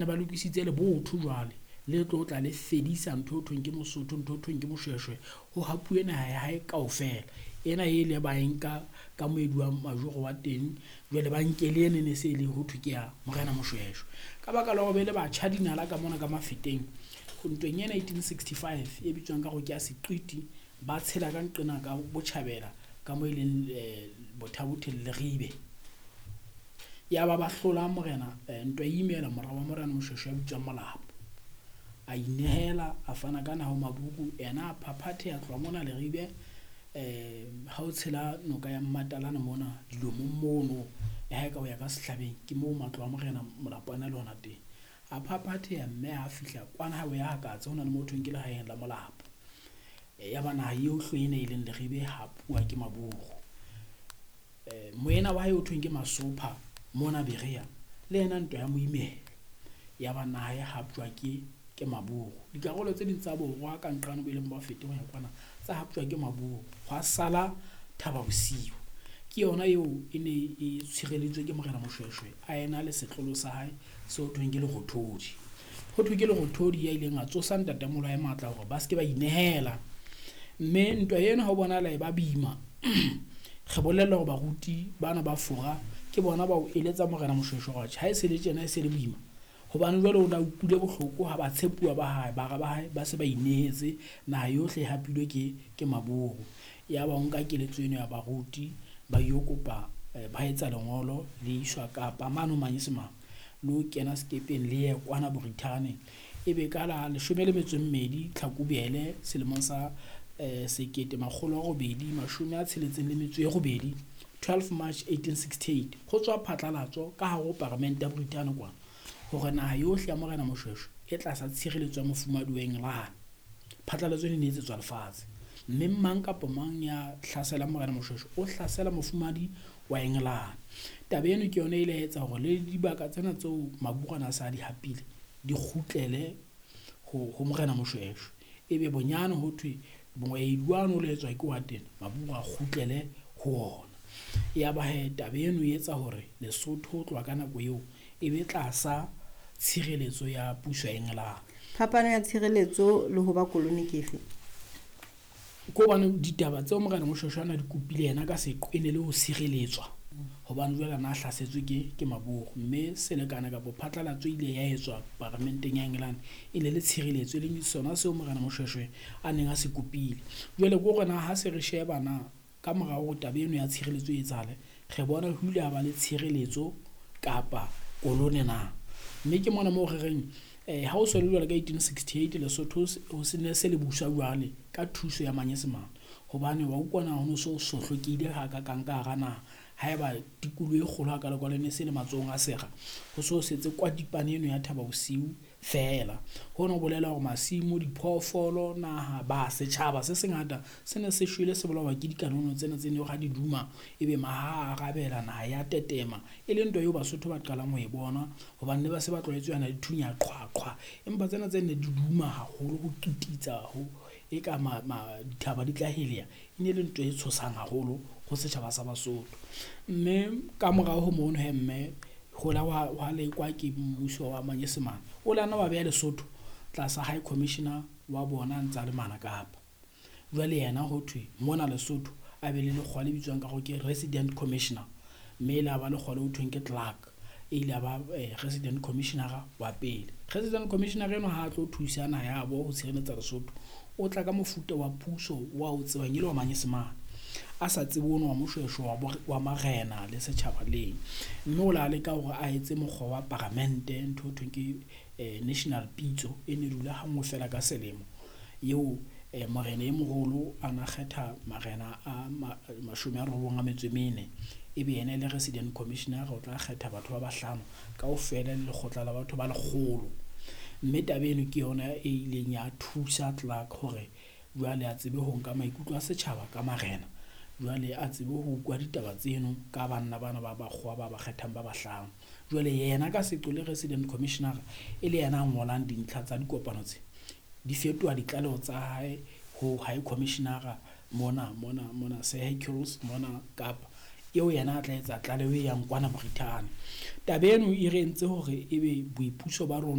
Ba lokisitse lebotho jwale le tlo tla le fedisa ntho eo thweng ke Mosotho, ntho eo thweng ke Moshweshwe, ho hapuwe naha ya hae kaofela. Ena e ile ba e nka ka moedi wa majoro wa teng, jwale ba nke le eno e ne se e le ho thwe ke ya Morena Moshweshwe. Ka baka la hore be le batjha dinala ka mona ka Mafeteng, ntweng ena 1865 e bitswang ka hore ke ya Seqiti, ba tshela ka nqena ka botjhabela ka moo e leng Botha-Bothe le Leribe. Ya ba ba hlola morena ntwa e imela mora wa Morena Moshweshwe ya bitswang Molapo. A inehela, a fana ka naha ho Maburu, yena a phaphatheha a tloha mona Leribe ha o tshela noka ya Mmatalane mona dilomong mono, le ha e ka o ya ka sehlabeng ke moo matlo a Morena Molapo ana le hona teng. A phaphatheha mme ha fihla kwana ha o ya Hakatse ho na le mo thweng ke lehaeng la Molapo. Ya ba naha yohle ena e leng Leribe e hapuwa ke Maburu. Moena wa hae ho thweng ke Masopha mona Berea le yena ntwa ya mo imela, ya ba naha e haptjwa ke Maburu. Dikarolo tse ding tsa borwa ka nqane bo e leng Bafete ho ya kwana tsa haptjwa ke Maburu, hwa sala Thaba Bosiu. Ke yona eo e ne e tshireleditswe ke Morena Moshweshwe a ena le setlolo sa hae seo thweng ke Lerothodi. Ho thwe ke Lerothodi ya ileng a tsosa ntatemoholo wa hae matla hore ba se ke ba inehela, mme ntwa ena ha o bonahala e ba boima. Re bolellwa hore baruti bana ba Fora ke bona ba o eletsa Morena Moshweshwe hore ha e se le tjena e se le boima, hobane jwale o na utlwile bohloko ha batshepuwa ba hae, bara ba hae ba se ba inehetse, naha yohle e hapilwe ke Maburu. Ya ba o nka keletso eno ya baruti ba yo kopa ba etsa lengolo le iswa Kapa mane ho Manyesemane, le ho kena sekepeng le ye kwana Borithane. Ebe ka la 12 Tlhakubele selemong sa 1868, 12 March 1868, ho tswa phatlalatso ka hare ho paramente ya Borithane kwana hore naha yohle ya Morena Moshweshwe e tlasa tshireletso ya mofumahadi wa Engelane. Phatlalatso ena e ne etsetswa lefatshe, mme mang kapa mang ya hlaselang Morena Moshweshwe o hlasela mofumahadi wa Engelane. Taba eno ke yona e ile ya etsa hore le dibaka tsena tseo Maburu ana a sa di hapile di kgutlele ho Morena Moshweshwe. Ebe bonyane ho thwe moedi wane o lo etswa ke wa teng, Maburu a kgutlele ho ona. Ya ba hee taba eno e etsa hore Lesotho ho tloha ka nako eo e be tlasa tshireletso ya puso ya Engelane. Phapano ya tshireletso le ho ba koloni ke efe? Ke hobane ditaba tseo Morena Moshweshwe ana di kopile yena ka seqo e ne le ho sireletswa, hobane jwale ana a hlasetswe ke Maburu, mme selekane kapa phatlalatso e ile ya etswa paramenteng ya Engelane e ne le tshireletso, e leng sona seo Morena Moshweshwe a neng a se kopile. Jwale ke hore na ha se re sheba na ka mora hore taba eno ya tshireletso e etsahale, re bona ho ile ha ba le tshireletso kapa kolone na. Mme ke mona moo re reng ha o so le jwale ka 1868 Lesotho ho se ne se le buswa jwale ka thuso ya Manyesemane, hobane wa utlwa na ho no so sohlokehile hakakang ka hara naha. Haeba tikoloho e kgolo hakalo-kalo e ne se le matsohong a sera, ho so setse kwatipane eno ya Thaba Bosiu feela. Hono ho bolela hore masimo, diphoofolo, naha, ba setjhaba se sengata se ne se shwele, se bolawa ke dikanono tsena tse ne ha di duma ebe maha a arabela, naha ya tetema, e leng ntwa eo Basotho ba qalang ho e bona, hobane ne ba se ba tlwaetse yana di thunya qhwa qhwa, empa tsena tse ne di duma haholo ho kititsa ho e ka dithaba di tla heleha, e ne le ntho e tshosang haholo ho setjhaba sa Basotho. Mme ka morao ho mono he mme ho la wa lekwa ke mmuso wa Manyesemane, o la nna wa beha Lesotho tlasa High Commissioner wa bona a ntsa le mana Kapa. Jwale yena ho thwe mona Lesotho a be le lekgowa le bitswang ka hore ke Resident Commissioner, mme e la ba lekgowa le ho thweng ke Clark, e ile ya ba Resident Commissioner wa pele. Resident Commissioner enwa ha a tlo thusa naha ya bo ho tshireletsa Lesotho, o tla ka mofuta wa puso wa o tsebang e le wa Manyesemane, a sa tsebe ono wa Moshweshwe wa marena le setjhaba leng. Mme o la leka hore a etse mokgwa wa paramente, ntho ho thweng ke national pitso e ne dula ha nngwe fela ka selemo, eo morena e moholo a na kgetha marena a 94, ebe yena e le Resident Commissioner o tla kgetha batho ba bahlano kaofela le lekgotla la batho ba 100. Mme taba eno ke yona e ileng ya thusa Clark hore jwale a tsebe ho nka maikutlo a setjhaba ka marena, jwale a tsebe ho utlwa ditaba tseno ka banna bana ba bakgowa ba ba kgethang ba bahlano. Jwale yena ka seqo le Resident Commissioner e le yena a ngolang dintlha tsa dikopano tse, di fetoha ditlaleho tsa hae ho High Commissioner mona Sir Hercules mona Kapa. Eo yena a tla etsa tlaleho e yang kwana Brithani. Taba eno e re entse hore ebe boipuso ba rona.